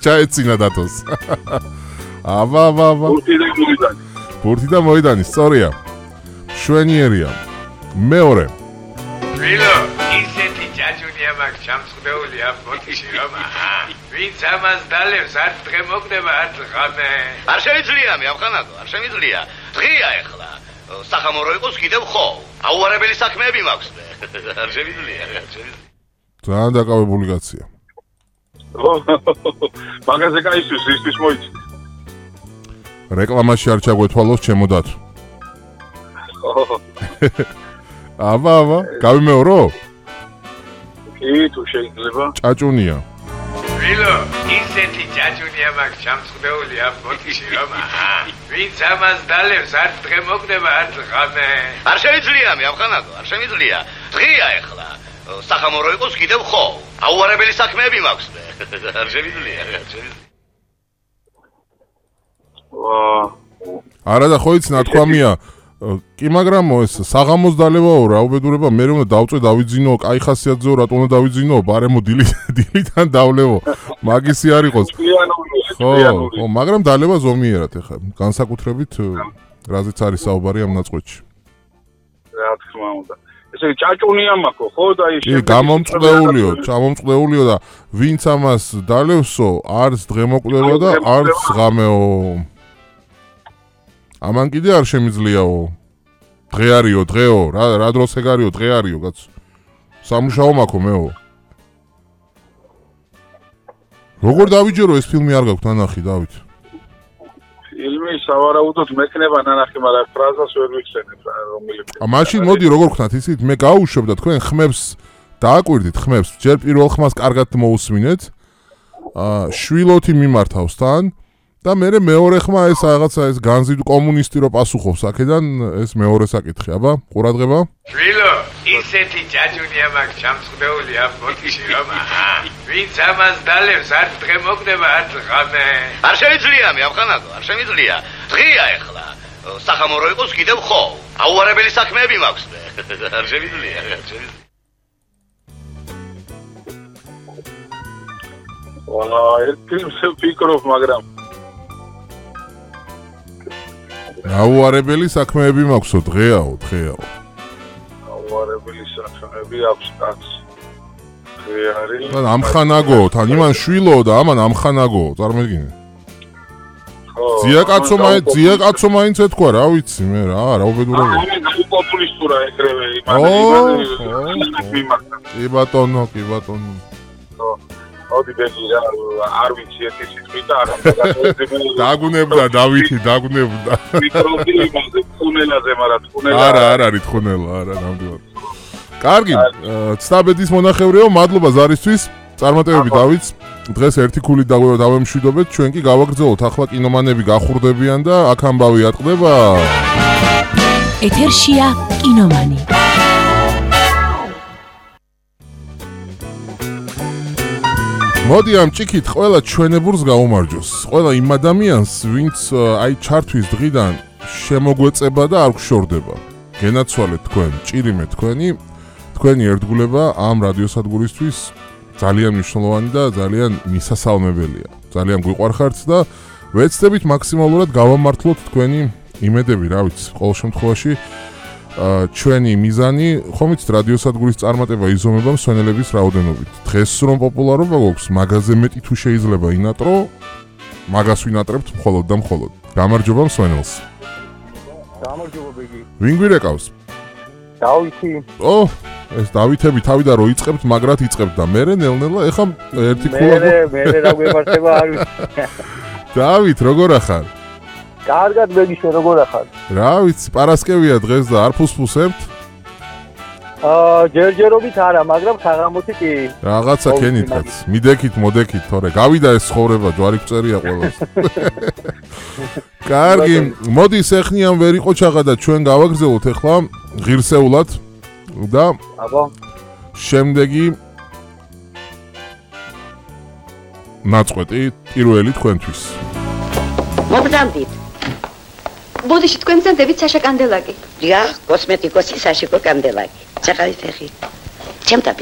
ჩაეცინა დათოს. აბა. ბურთი და მოედანი, სწორია. შვენიერია. მეორე. ვილო, ისეთი ჯაჯუნია მაგ ჩამწყვდეული ამ ბოთში რომ ვინც ამას დალევს არ დღე მოგდება არც ღამე. არ შეიძლება მე ამხანაგო, არ შემიძლია. დღეა ეხლა. სახამორო იყოს კიდევ ხო. აუარებელი საქმეები მაქვს მე. არ შემიძლია. ძალიან დაკავებული კაცია. მაგაზე გაისთვის ისთვის მოიცი. რეკლამაში არ ჩაგვეთვალოს ჩემო დათო. აბა, გავიმეორო? კი, თუ შეიძლება. ჭაჭუნია. ვილო, ისეთი ჯაჯუნია მაგ ჩამწყვდეული ამ ბოთში რომ ვინც ამას დალევს არც დღე მოგდება არც ღამე. არ შეიძლება მე ამხანაგო, არ შემიძლია. დღეა ეხლა. სახამორო იყოს კიდევ ხო. აუარებელი საქმეები მაქვს მე. არ შემიძლია. არა და ხო იცი ნათქვამია. კი მაგრამ ეს საღამოს დალევაო რა უბედურება მე უნდა დავწვე დავიძინო კაი ხასიათზეო რატო უნდა დავიძინო ბარემო დილიდან დავლევო მაგისი არ იყოს ხო მაგრამ დალევა ზომიერად ეხა განსაკუთრებით რაზეც არის საუბარი ამ ნაწყვეტში რა თქმა უნდა ესე ჭაჭუნია მაქო ხო და ის კი გამომწყდეულიო და ვინც ამას დალევსო არც დღემოკვდება და არც ღამეო ამან კიდე არ შემიძლიაო დღე არისო დღეო რა დროს ეგ არისო დღე არისო კაც სამუშაო მაქვს მეო როგორ დავიჯერო ეს ფილმი არ გაქვთ ნანახი დავით ფილმი სავარაუდოდ მექნება ნანახი მაგრამ ფრაზას ვერ ვიხსენებ რომელი მაშინ მოდი როგორ ხნათ ისიც მე გაუშვებ და თქვენ ხმებს დააკვირდით ხმებს ჯერ პირველ ხმას კარგად მოусმინეთ შვილოთი მიმართავს თან და მე მეორე ხმა ეს რაღაცა ეს განზიდ კომუნისტი რო პასუხობს აქედან ეს მეორე საკითხი აბა ყურადღება შვილო ისეთი ჯაჯუნია მაგ ჩამწყვდეული ამ ბოთში რომ ვინც ამას დალევს არც დღე მოგდება არც ღამე არ შეიძლება მე ამხანაგო არ შემიძლია დღეა ეხლა სახამორო იყოს კიდევ ხო აუარებელი საქმეები მაქვს მე არ შემიძლია ეს ფილმს ვფიქრობ მაგრამ აუარებელი საქმეები მაქვსო დღეაო აუარებელი საქმეები აქვს კაც დღე არის და ამხანაგო თან იმან შვილო და ამან ამხანაგო წარმოგიდგენე ძია კაცო მაინც ეთქვა რა ვიცი მე რა უბედურება პოპულისტურა ეგრევე კი ბატონო ოდი ბეგი რა არ ვიცი ერთი სიტყვით და არ დაგუნებდა დავითი დაგუნებდა მიკროფონი იმაზე თუნელაზე მაგრამ თუნელა არა არის თუნელა არა ნამდვილად კარგი ცდაბედის მონახევრეო მადლობა ზარისთვის წარმატებები დავითს დღეს ერთი ქულით დავემშვიდობეთ ჩვენ კი გავაგრძელოთ ახლა კინომანები გახურდებიან და აქ ამბავი ატყდება ეთერშია კინომანი მოდი ამ ჭიქით ყველა ჩვენებურს გაუმარჯოს. ყველა იმ ადამიანს, ვინც აი ჩართვის დღიდან შემოგვეწება და არ გშორდება. გენაცვალეთ თქვენ, ჭირიმე თქვენი ერთგულება ამ რადიოსადგურისთვის ძალიან მნიშვნელოვანი და ძალიან მისასალმებელია. ძალიან გვიყვარხართ და ვეცდებით მაქსიმალურად გავამართლოთ თქვენი იმედები, რა ვიცი, ყოველ შემთხვევაში ჩვენი მიზანი ხომ იცით რადიოსადგურის წარმატება იზომება მსვენელების რაოდენობით. დღეს რომ პოპულარობა გვაქვს, მაგაზე მეტი თუ შეიძლება ინატრო, მაგას ვინატრებთ მხოლოდ და მხოლოდ. გამარჯობა მსვენელს. გამარჯობა ბიგი. ვინ გვირეკავს? დავითი. ეს დავითები თავიდან რო იწყებთ, მაგრად იწყებთ და მე ნელ-ნელა ეხა ერთი ქულა. მე რა გვემართება არ ვიცი. დავით, როგორ ახარ? კარგად ბეგი შენ როგორ ახარ? რა ვიცი, პარასკევია დღეს და არ ფუსფუსებთ? ჯერჯერობით არა, მაგრამ საღამოთი კი. რაღაცა ქენითაც. მიდექით, მოდექით, თორე გავიდა ეს ცხოვრება, ჯვარი გწერია ყველას. კარგი, მოდი სეხნიან ვერ იყო ჩაღა და ჩვენ გავაგრძელოთ ახლა ღირსეულად და აბა. შემდეგი ნაწყვეტი პირველი თქვენთვის. მოგზავნით. ბოდიში თქვენ გზანდებით საშა კანდელაკი. დიახ, კოსმეტიკოსი საშიკო კანდელაკი. ჩახალით ეხი. ჩემთან